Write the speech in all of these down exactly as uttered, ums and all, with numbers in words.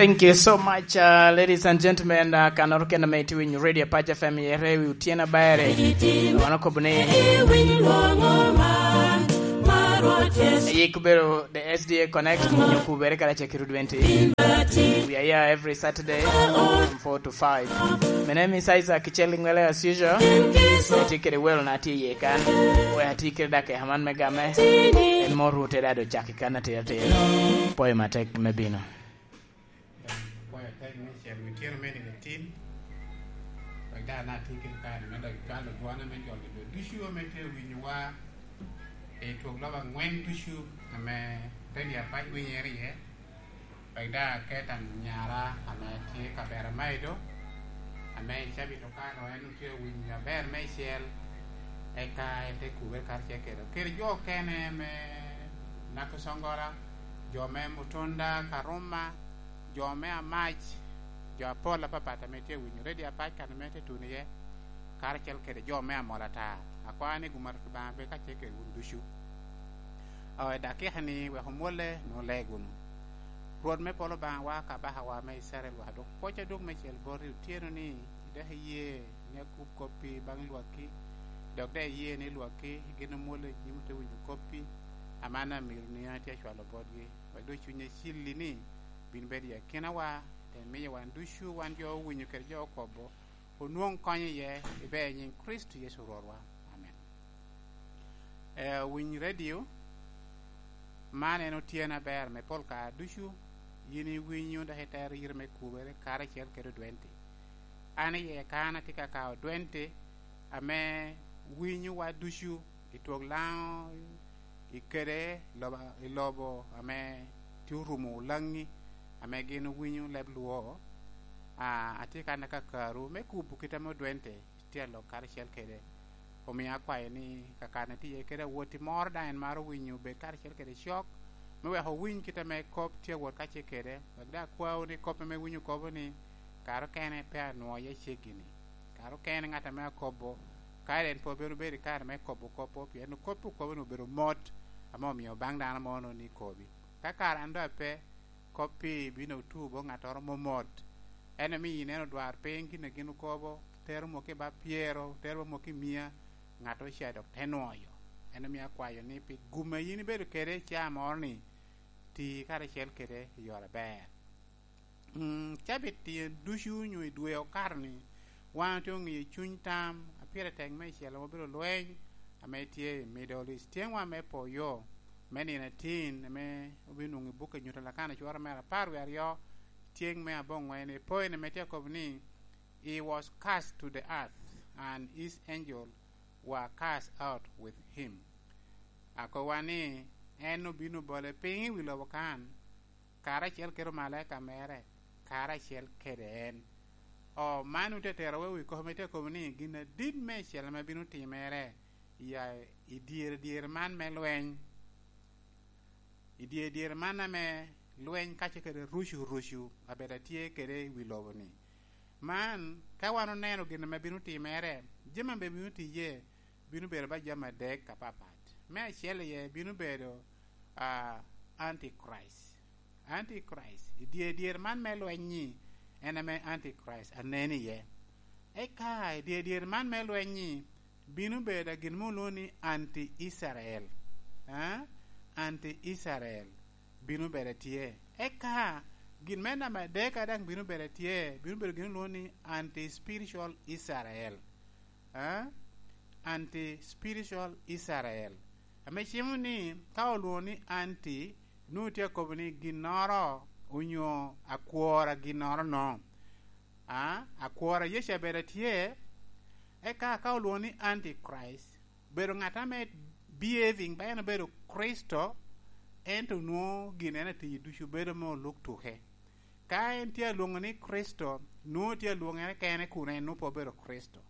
Thank you so much, uh, ladies and gentlemen. Uh, kanoro kena me iti winyo Radio Pac F M yere wi utien abere. Wano kobo ni yik kubero the S D A Connect, nyo kubere kala chakiro twenty. We are here every Saturday from four to five. My name is Isaac Kicheli Ngwele as usual. Ati kede wel na ti ye kan. We ati kede dak e haman me game. En mo rute da do chaki kan ati ati. Poi matek me bino. Kwayo tek me cel wi tino me nino tin. Wek dano ati kede kare me dok cwalo dwane me jolo jo ducu ame tye winyowa. I twok lobo angwen ducu ame Radio Apac winyere iye, wek daŋ aket anyara ame tye i kavera Maido, ame i cabit okalo en otye winyo aber meicel, eka ete kubere karacel kede, kede jo okene me Nakosongola, jo me Mutunda, Karuma, jo me Amac, jo apol apapat ame tye winyo Radio Apac kan ame tye tuno iye, karacel kede jo me Amol ata. Akwao ni gum ato Lubanga bed kacel kede wun ducu. O, i dakika ni wek omwolle, nwoŋo leg wunu. Rwot me polo Obaŋawa, Kabakawa me Icrael, wek adwok pwoc adwog me cel boti otyeno ni, dok iye ni akub koppi baŋ lwakki, dok daŋ iye ni lwakki gin omwolle i nyim ote winyo koppi, aman amiro ni an atye acwalo botgi, wek doŋ cuny acilli ni bin bedo i akinawa, te miyo wan ducu, wan jo owinyo kede jo okobo, onwoŋ konyo iye, iber i nyiŋ Kricito Yecu Rwotwa. Amen. Eh, owiny redio, man en otyeno aber me pol kare ducu, yin iwinyo dok itero yito me kubere karacel kede odwenti. An iye kan atye ka kao odwenti ame winyowa ducu i twok Laŋo, i kede lobo, i lobo ame tye orumo Olaŋi, ame gin owinyo leb Luo. Ah, atye kan akakaru me kubo kite ame odwente tye alok karacel kede. Omio akwayo ni kakana tye iye kede awotti moro daŋ en maro winyo obed karacel kede cok, me wek owiny kit ame kop tye awot kacel kede, wek daŋ akwao ni kop ame winyo kobo ni, kare okene pe anwoŋo iye ceggi-ni. Kare okene ŋat ame akobo, kare en pe obino bedo i kare me kobo kop-po, pien kop okobo-ni obedo mot, ame omio baŋ dano moro ni kobi. Ka kare an doŋ ape, kop-pi bino otu boŋ ŋattoro momot. En omio ineno odwarpiny gin a gin okobo, tero mok i bap pyero, tero mok i mia, ŋat oca dok te nwoyo. En omio akwayo ni pi gum a yin ibedo kede i caa moro-ni, ti karacel kede i yore aber. Mm, cabit tyen ducu onyo i dwe okato-ni, wan otye oŋiyo cuny tam a pire tek meicel ame obedo lweny ame tye i Middle East. Tyeŋwa me poyo me nino atin ame obinwoŋo i buk a Nyuto Lakana cwara mere apar wie aryo, tyeŋ me aboŋwen, i point ame tye akobo ni, "He was cast to the earth, and his angel were cast out with him." Akowa ni, en obino bole piny i wi lobo kan, karacel kede omalaika mere, karacel kede en. O, man ote tero wa i wi kop ame tye akobo ni gin adit meicel ame bino timere i, i dyere dyere man me lweny, i dyere dyere man ame lweny kacel kede rucu rucu abedo atye kede i wi lobo-ni. Man, ka wan oneno gin ame bino timere, jami ame bino tiye, bino bedo ba jami adek apapat. Me acel iye bino bedo, ah, Antichrist. Antichrist, i dye dyere man me lweny-nyi, en ame Antichrist anen iye. Eka i dye dyere man me lweny-nyi, bino bedo gin mo olwoŋo ni anti-Icrael. Ah? Anti-Icrael bino bedo tye. Eka gin me namba adek a daŋ bino bedo tye, bino bedo gin olwoŋo ni anti-spiritual Israel. Ah? Anti-spiritual Israel. Ame cimo ni ka olwoŋo ni anti, nwoŋo tye akobo ni ginnoro onyo akwor a ginnoro no. Ah? Akwor a Yecu abedo atye, eka ka olwoŋo ni Antichrist, bedo ŋat ame behaving ba en obedo Kricito, ento nwoŋo gin en atiyo ducu bedo me oluk tuke. Ka en tye alwoŋo ni Kricito, nwoŋo tye alwoŋere kene kun en nwoŋo pe obedo Kricito.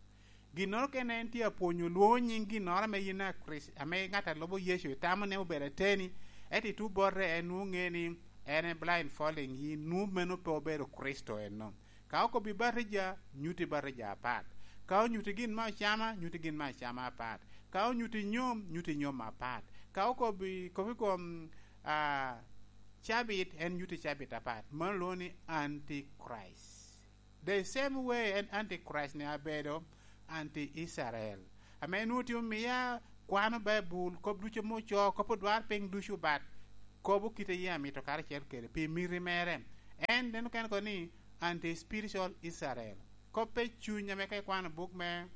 Ginnoro kene en tye apwonyo lwoŋo nyiŋ ginnoro ame yin a Kricito, ame ŋat a lubo Yecu itamo ni obedo ateni, ento ituŋ bote en nwoŋo ŋe ni en e blindfolding yin, nwoŋo meno pe obedo Kricito eno. Ka okobbi batija, nyutti batija apat. Ka onyutti gin me acama, nyutti gin me acama apat. Ka onyutti nyom, nyutti nyom apat. Ka okobbi, kobbi kom, ah, Cabit en nyuto cabit apat. Mano lwoŋo ni Antichrist. The same way en Antichrist ni abedo anti-Icrael. Ame nwoŋo tye omia kwano Baibul, kop ducu ame ocoo, kop odwarpiny ducu, but kobo kite yie amito karacel kede pi miti mere. En neno kene kono ni anti-spiritual Israel. Kop pe cuny ame ka ikwano buk me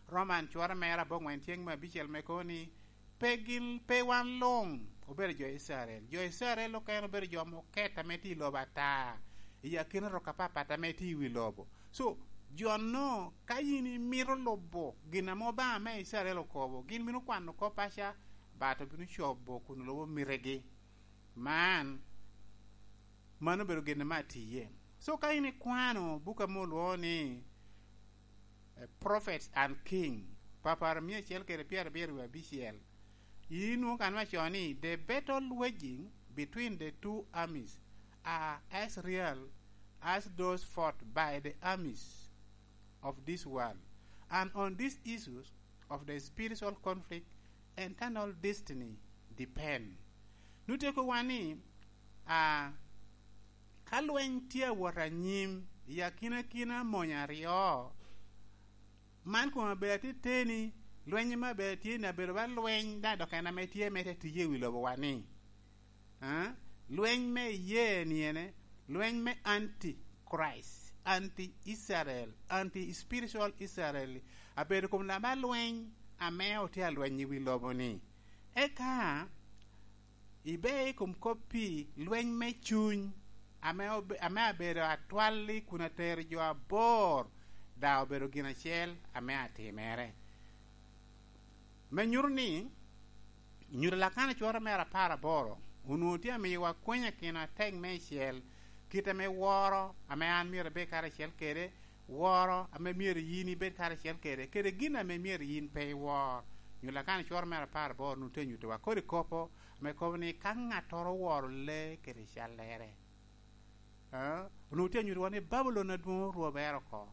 Roman cware mere aboŋwen ceng me abicel me kono ni, pe gin, pe wan luŋ obedo jo Icrael. Jo Icrael okene obedo jo ame oket ame tye i lobo ata, i akina rok apapat ame tye i wi lobo. So, jo-nu, ka yin imito lubo gin ame Obaŋa me Icrael okobo, gin bino kwano kop aca, bat obino cobo kun lubo mitegi. Man, mano obedo gin ame atiye. So, ka in ikwano buk ame olwoŋo ni, eh, Prophets and King, papar mia acel kede pyerabiro wie abicel, inwoŋo kan me acoo ni, "The battle waging between the two armies are as real as those fought by the armies of this world, and on these issues of the spiritual conflict, eternal destiny depend." Nuteko wan ni, a, ka lweny tye awot anyim i akinakina mony aryo, man kome abedo ateteni, lweny ame abedo tye ni abedo ba lweny, daŋ dok en ame tye me te tiye i wi lobo wa ni. A? Lweny me iyee ni ene, lweny me anti-Christ, anti-Israel, anti-spiritual Israel, abedo kom lama lweny ame otye alweny i wi lobo ni. Eka, ibe i kom kop-pi, lweny me cuny, ame obe-, ame abedo atwalli kun atero jo abor, daŋ obedo gin acel ame atimere. Me nyuto ni, nyuto Lakana cwero mere apar aboro, onwoŋo tye amiyowa kweny akina atek meicel, kit ame woro ame an myero abed karacel kede, woro ame myero yin ibed karacel kede, kede gin ame myero yin pe iwor. Nyuto Lakana cwero mere apar aboro onwoŋo tye anyutowa kodi kop ame kobo ni, ka ŋattoro oworo lee kede callere. A? Onwoŋo tye anyutowa ni Babulon adwoŋ orwobere oko.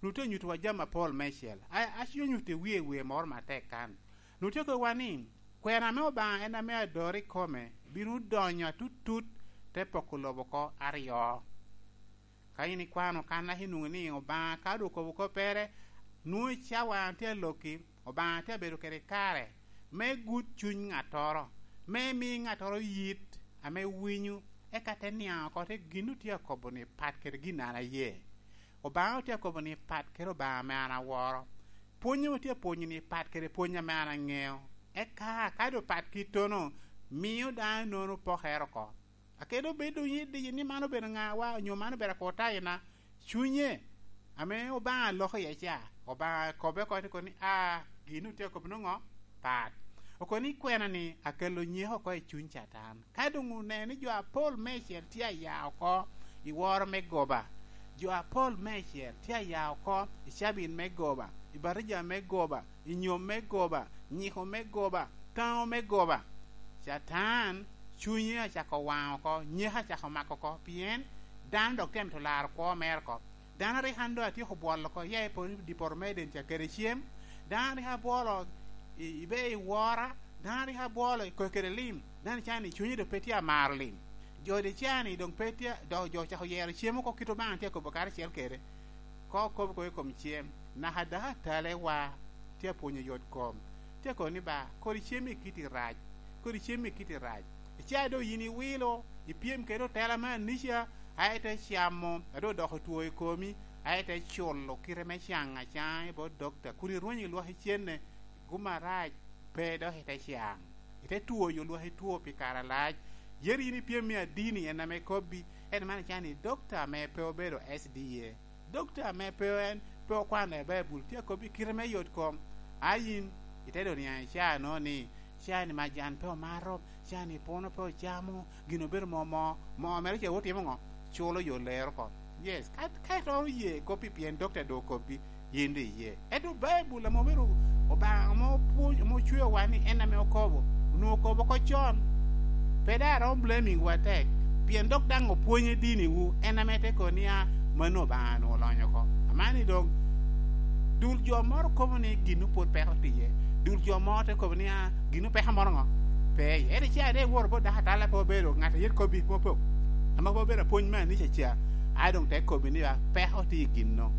Onwoŋo tye anyutowa jami apol meicel. A, aco nyuto i wie, wie moro matek kan. Onwoŋo tye kowa ni, kwena me Obaŋa en ame adoro i kome bino donyo atutut, te poko lobo oko aryo. Ka in ikwano kan, ka inwoŋo ni Obaŋa ka doŋ okobo koppere, nwoŋo i cawa an tye alokki, Obaŋa tye abedo kede kare me gut cuny ŋattoro, me mi ŋattoro yit ame winyo, eka te niaŋ oko te gin otye akobo ni pat kede gin an aye. Obaŋa otye akobo ni pat kede Obaŋa ame an aworo. Pwony ame otye apwonyo ni pat kede pwony ame an aŋeo. Eka ka doŋ pat kittono, mio dano nono pokere oko. Akelo bedo i diyo ni man obedo ŋawa, onyo man obedo akwo tayina. Cunye ame Obaŋa loko iye ca, Obaŋa kobbe oko ni, kono ni, "A, gin otye akobo noŋo? Pat." Okobo ni, "Kwena ni akelo nyeko oko i cuny Catan." Ka doŋ oneno ni jo apol meicel tye aya oko i woro me goba, jo apol meicel tye aya oko i cabit me goba, i batija me goba, i nyom me goba, nyiko me goba, taŋo me goba. Catan cunye acako waŋ oko, nyeko acako mako oko, pien dano dok tye amito laro kwo mere oko. Dano a rik an doŋ atyeko bwolo oko, iya i polo, i poto me Eden ca kede cem. Dano a rik abwolo i, i be i wora, dano a rik abwolo i koko kede lim, dano ca-ni cunye doŋ pe tye amaro lim. Jo de ca-ni doŋ pe tye, dok jo ocako yero cem oko kit Obaŋa tye akobo karacel kede. Ka okobo oko i kom cem, naka dako atalewa tye apwonyo yot kom, tye akobo ni, "Ba, kodi cem i kiti rac, kodi cem i kiti rac." Ica doŋ yin iwilo, ipyem kede otela me anica, a ite camo, a doŋ odoko two i komi, a ite culo kite me caŋ acaŋa i bot dokta, kun irwenyo i lwaki cene, gum arac pe dok ite caŋ. Ite twoyo lwaki two pi kare alac. Yero yin ipyem i adini, en ame kobbi, en man ica ni dokta ame pe obedo S D A. Dokta ame pe en, pe okwano i Baibul, tye akobbi kite me yot kom. A yin, ite doŋ niaŋ i caa-no ni, caa-ni majan pe omato, caa-ni puno pe ocamo, gin obedo moo moo, moo mere ce otimo ŋo? Culo yo lero oko. Yes, ka, ka itoro ye kop-pi pien dokta doŋ okobbi, yin doŋ iye. Ento Baibul ame obedo Obaŋa ame opwony-, ame ocweowa ni en ame okobo, onwoŋo okobo oko con. Pe daŋ aromo blaming wu atek, pien dok daŋ opwonyo diniwu, en ame te kobo ni, "A, mano Obaŋa onwoŋo olonyo oko." Amanni doŋ, dul jo moro kobo ni ginnu pwod peko tiye, dul jo moro te kobo ni, "A, ginnu peko moro ŋo?" pe iye. Ento ca ite woro bot dako atalla pe obedo ŋat a yet kobbi, pe ope-, ame pe obedo apwony me anica ca, a doŋ te kobbi ni, "A, peko tye i gin-no."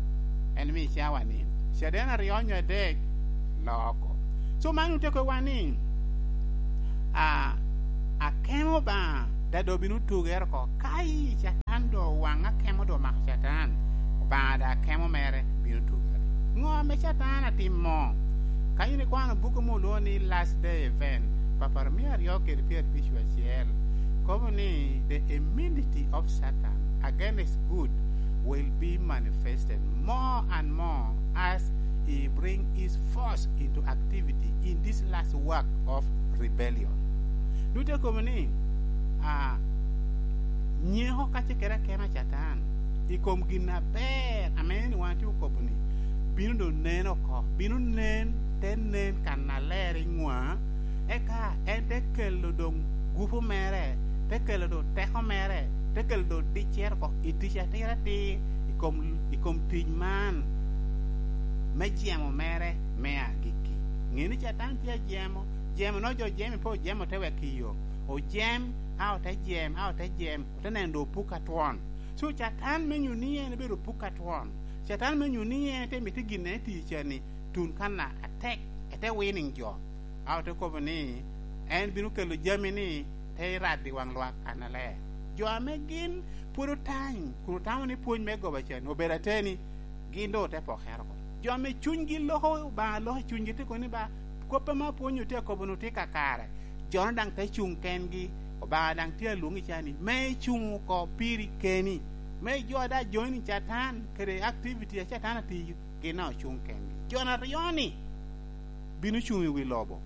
En mi cawa ni, caden aryo onyo adek, loko. So, man ote kowa ni, a, akemo Obaŋa, da doŋ bino tugere oko. Ka i Catan doŋ owaŋ akemo doŋ omako Catan, Obaŋa da akemo mere bino tugere. Ŋo ame Catan atimo? Ka in ikwano buku ame olwoŋo ni Last Day Event, papar mia aryo kede pyerabic acel, kobo ni, "The enmity of Satan against good will be manifested more and more as he bring his force into activity in this last work of rebellion." Dute kobo ni, a, nyeko kacel kede akemo a Catan i kom gin aber ame en wan tye okobo ni bino doŋ nen oko, bino nen, te nen kannaler i ŋwa, eka en te kelo doŋ gupu mere, te kelo doŋ teko mere, te kelo doŋ diccere oko i tic atir atir i kom, i kom tic man me jemo mere me agikki. Ŋe ni Catan tye ajemo, jemo no jo jemi pe ojemo te wek i yo. Ojem, a ote jem, a ote jem, ote neno doŋ opuk atwon. So, Catan me nyuto ni en obedo opuk atwon. Catan me nyuto ni en te mito gin en etiyo ca-ni tun kanna atek, ete winning jo. A ote kobo ni en bino kelo jami-ni te rad i waŋ lwak kannaler. Jo ame gin pwod otany kun otamo ni pwony me goba ca-ni obedo ateni, gin doŋ ote pokere oko. Jo ame cunygi loko Obaŋa loko i cunygi, te kobo ni, "Ba, kop ame apwonyo tye akobo-nu tye kakare." Jo-nu daŋ te cuŋ kengi, Obaŋa daŋ tye alwoŋi ca-ni, me icuŋ oko piri keni, me ijo daŋ joining Catan kede activity a Catan atiyo, gin daŋ ocuŋ kengi. Jo-nu aryo-ni bino cuŋ i wi lobo.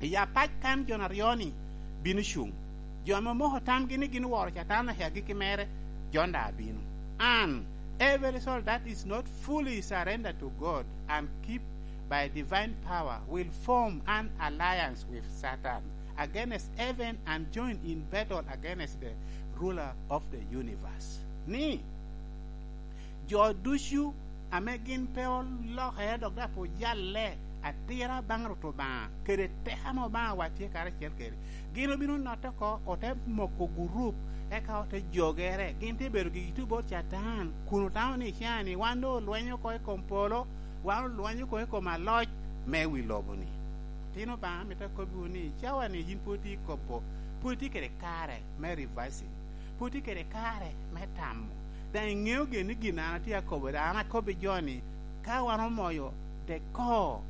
I apac kan jo-nu aryo-ni bino cuŋ. Jo ame omoko tamgi ni gin oworo Catan i agikki mere, jo-nu daŋ abino. And every soul that is not fully surrendered to God and keep by divine power will form an alliance with Satan against heaven and join in battle against the ruler of the universe. Ni, jo ducu ame gin pe olokere dok daŋ pe ojalle atira baŋ Rwot Obaŋa kede teko ame Obaŋawa tye karacel kede, gin obino notte oko, ote moko gurup, eka ote jogere. Gin tye bedo gigi tuŋ bot Catan, kun otamo ni, "Ca-ni wan doŋ olwenyo oko i kom polo, wan olwenyo oko i kom aloc me wi lobo-ni." Tin Obaŋa, amito akobbiwu ni, cawa-ni yin pwod itye i kobo, pwod itye kede kare me reversing, pwod itye kede kare me tamo. Daŋ iŋeo gin ni gin an atye akobo, daŋ an akobbi jo-ni, ka wan omoyo the core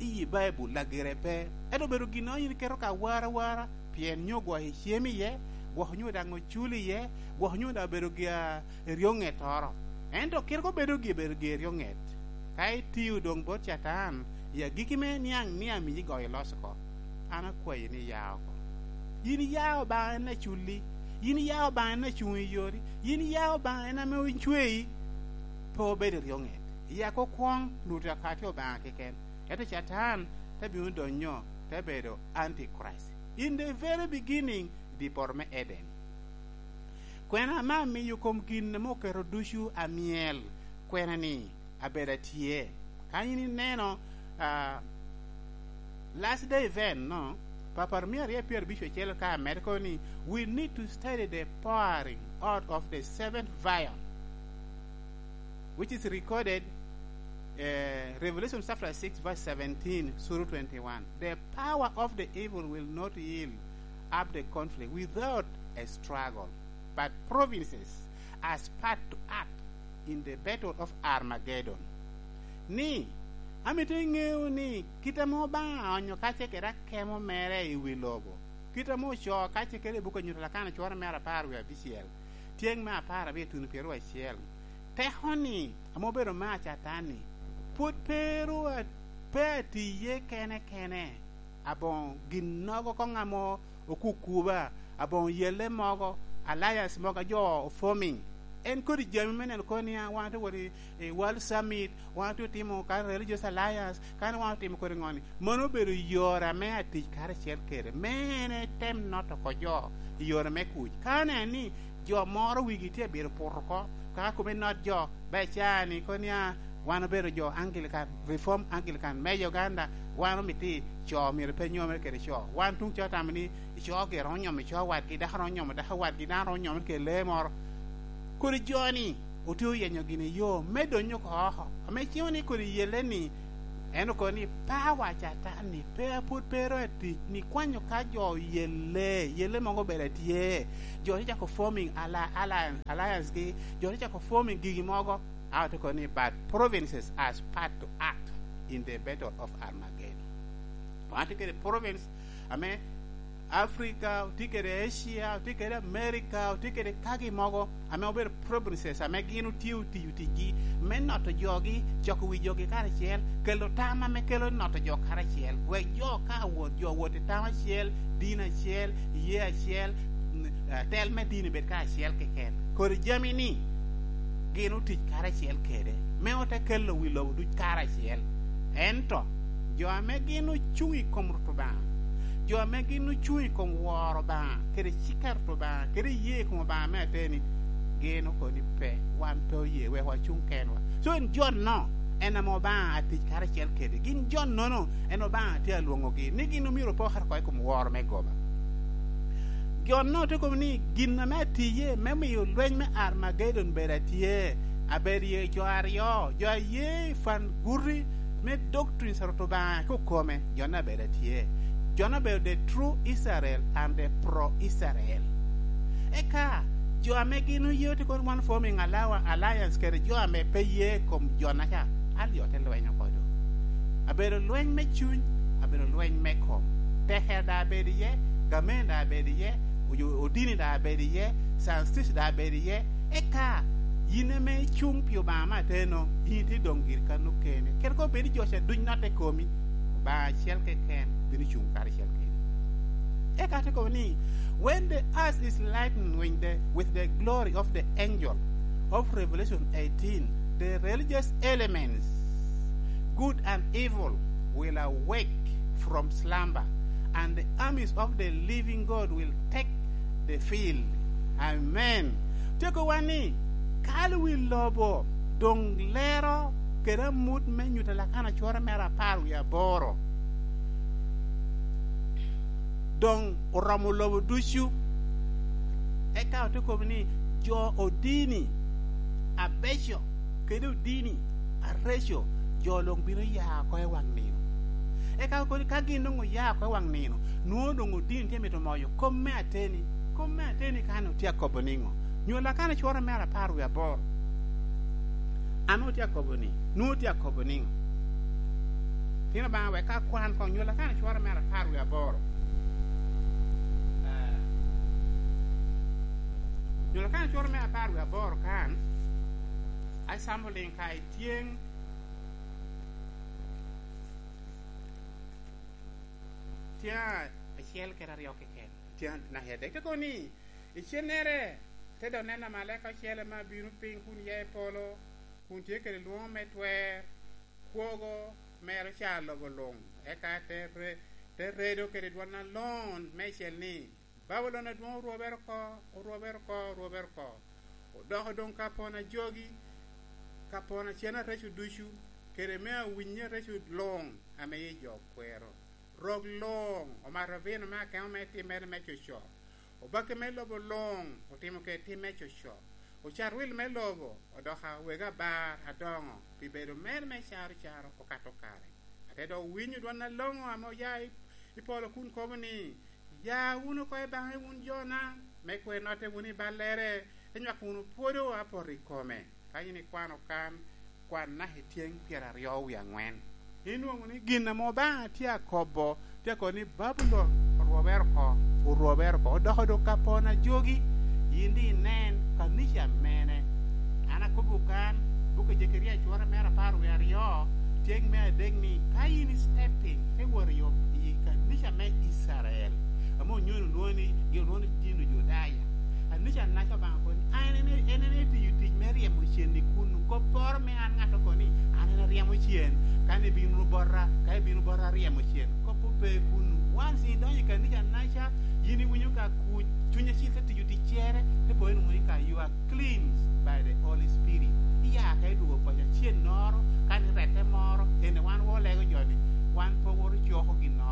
i Baibul, lagire pe. Ento obedo gin ame yin iketo ka wara wara, pien nyo gwok icem iye, gwok nyo daŋ ocul iye, gwok nyo daŋ obedo gi, a, eryoŋettoro. Ento kit kobedo gi, bedo gi eryoŋet. Ka itio doŋ bot Catan, i agikki me niaŋ ni amiyi goyo loc oko, an akwayi ni ya oko. Yin ya Obaŋa en aculli, yin ya Obaŋa en acuŋ i yori, yin ya Obaŋa en ame ocweyi, pe obedo eryoŋet. Ya kokwoŋ, Rwot akati Obaŋa keken. Ento Catan te bino donyo, te bedo Antichrist. In the very beginning, i dye poto me Eden. Kwena ame amiyo kom gin ame oketo ducu amyel, kwena-ni abedo atye. Ka in ineno, ah, Last Day Event, no, papar mia aryo pyerabic acel ka amedde kono ni, "We need to study the pouring out of the seventh vial," which is recorded, eh, Revelation chapter six, verse seventeen through twenty-one. "The power of the evil will not yield up the conflict without a struggle, but provinces aspire to act in the battle of Armageddon." Ni, amito iŋeo ni kit ame Obaŋa aonyo kacce kede akemo mere i wi lobo, kit ame ocoo kacce kede i buk a Nyuto Lakana cware mere apar wie abicel, tyeŋ me apar abiro ituno pyeraryo acel, teko-ni ame obedo me Catan-ni, pwod pe ru a-, pe atiye kene kene. Aboŋo ginnogo koŋ ame okukuba, aboŋo yelle mogo, alliance mogo a jo o forming. En kodi jami me neno kono ni, a, wan atye wot i, i World Summit, wan atye otimo ka Religious Alliance, kadi wan otimo kodi ŋoni. Mano obedo yore ame atic karacel kede, me en etem noto oko jo i yore me kuc. Ka aneno ni jo moro wigi tye abiro poto oko, kaka kome not jo, ba icaa-ni kono ni, a, Wan obedo jo Anglican, Reform Anglican me Uganda, wan omito co myero pe nyomere kede co. Wan tuŋ ca otamo ni co gire romo nyomo co wadgi, dako romo nyomo dako wadgi, dano romo nyomere kede lee moro. Kodi jo-ni otye oyenyo gini yo me donyo oko oko. Ame cimo ni kodi yelle-ni, en okobo ni, "Pawa Catan-ni pe, pwod pe ero atic, ni kwanyo ka jo yelle, yelle mogo obedo atye. Jo tye cako forming alli-, alliance, alliance-gi, jo tye cako forming gigi mogo." A otye kono ni, "But provinces aspire to act in the battle of Armageddon." Wan tye kede province ame Africa, otye kede Asia, otye kede America, otye kede kagi mogo ame obedo provinces ame gin otye otiyo ticgi me noto jogi, coko wi jogi karacel, kelo tam ame kelo noto jo karacel, wek jo ka wot, jo wot i tam acel, dini acel, ye acel, mm, eh, tel me dini bed karacel keken. Kodi jami-ni gin otic karacel kede, me ote kelo wi lobo duc karacel. Ento jo ame gin ocuŋ i kom Rwot Obaŋa, jo ame gin ocuŋ i kom woro Obaŋa, kede cik a Rwot Obaŋa, kede ye i kom Obaŋa me ateni, gin okobo ni, "Pe, wan pe oye, wek wacuŋ kenwa." So, en jo-no, en ame Obaŋa atic karacel kede. Gin jo-nono, en Obaŋa tye alwoŋogi, ni gin omyero opo kato oko i kom woro me goba. Jo-no te kobo ni, "Gin ame atiye me miyo lweny me Armageddon bedo atye, abedo iye jo aryo, jo aye i fan guti me doctrines a Rwot Obaŋa kokome, jo-no abedo atye." Jo-no obedo the true Israel and the pro-Israel. Eka, jo ame gin oye otye kono one forming alliance kede jo ame pe ye kom jo-naca, alyo te lweny oko do. Abedo lweny me cuny, abedo lweny me kom. Tekere daŋ abedo iye, gamen daŋ abedo iye, oyo-, odini daŋ abedo iye, scientist daŋ abedo iye. Eka, yin ame icuŋ pi Obaŋa me ateno, yin itye doŋ giri kan okene. Kede kono bed ni jo ca duc notte komi, Obaŋa acel keken bino cuŋ karacel kede. Eka te kobo ni, "When the earth is lightened with the, with the glory of the angel of Revelation eighteen, the religious elements, good and evil, will awake from slumber, and the armies of the living God will take the field." Amen. Tye kobo ni, kalo wi lobo doŋ lero kede amut me nyuto Lakana cwore mere apar wie aboro. Doŋ oromo lobo ducu. Eka ote kobo ni, jo odini abeco kede odini areco, jo luŋ bino ya oko i waŋ nino. Eka okobo ni, ka gin doŋ oya oko i waŋ nino, nwoŋo doŋ odini tye mito moyo kom me ateni. Kom me ateni kan otye akobo niŋo? Nyo Lakana cwore mere apar wie aboro. Ame otye akobo ni, nwoŋo tye akobo niŋo? Tino Obaŋa wek ka kwan koŋ nyo Lakana cwore mere apar wie aboro. Eh, nyo Lakana cwore mere apar wie aboro kan, a sambo liŋ ka i tyeŋ, tyeŋ acel kede aryo keken, tyeŋ naka adek. Te kobo ni, icennere, te dok neno amalaika ocele ame abino piny kun ya i polo, kun tye kede lwoŋo me twer, kwogo mere ocar lobo luŋ, eka te re-, te redo kede dwon alon meicel ni, "Babulon adwoŋ orwobere oko, orwobere oko, orwobere oko. Odoko doŋ ka pon ajogi, ka pon acen areco ducu, kede me awinyi areco luŋ ame i jo kwero. Rok luŋ omato vino me akemo me timmere me coco. Obakki me lobo luŋ otimo kede tim me coco. Ocat wil me lobo odoko awego abar adoŋo pi bedo mere me caro caro okato kare." Ate dok winyo dwon aloŋo ame oya i, i polo kun kobo ni, "Ya wunu oko i baŋe wun jona, me kwer notte wunu i ballere, te nywako wunu pwodo apoto i kome." Ka yin ikwano kan, kwan naka i tyeŋ pyeraryo wie aŋwen. Inwoŋo ni gin ame Obaŋa tye akobo, tye akobo ni Babulon orwobere oko, orwobere oko, odoko doŋ ka pon ajogi. Yin daŋ inen kanica mene. An akobbiwu kan, buk a Jekaria cwore mere apar wie aryo, tyeŋ me adek ni, ka yin i stepping, te wot i, i kanica me Icrael, ame onyono lwongo ni, gin lwongo ni dino Judaya. Kanica naca Obaŋa kobo ni, "An en, en, en etiyo tic me ryemo cen i kunnu." Kopporo me an ŋat okobo ni, "An en aryemo cen." Ka ni bino bota, ka ibino bota aryemo cen, kop pe kunnu. Once idonyo i kanica naca, ca, yin iwinyo ka kuc, Cuny Acil te tiyo ticcere, te pwony wunu ni ka you are cleansed by the Holy Spirit. Iya ka idwogo paco acennoro, ka ni rette moro, ene wan wa olego jo-ni, wan pe owoto coko ginnoro.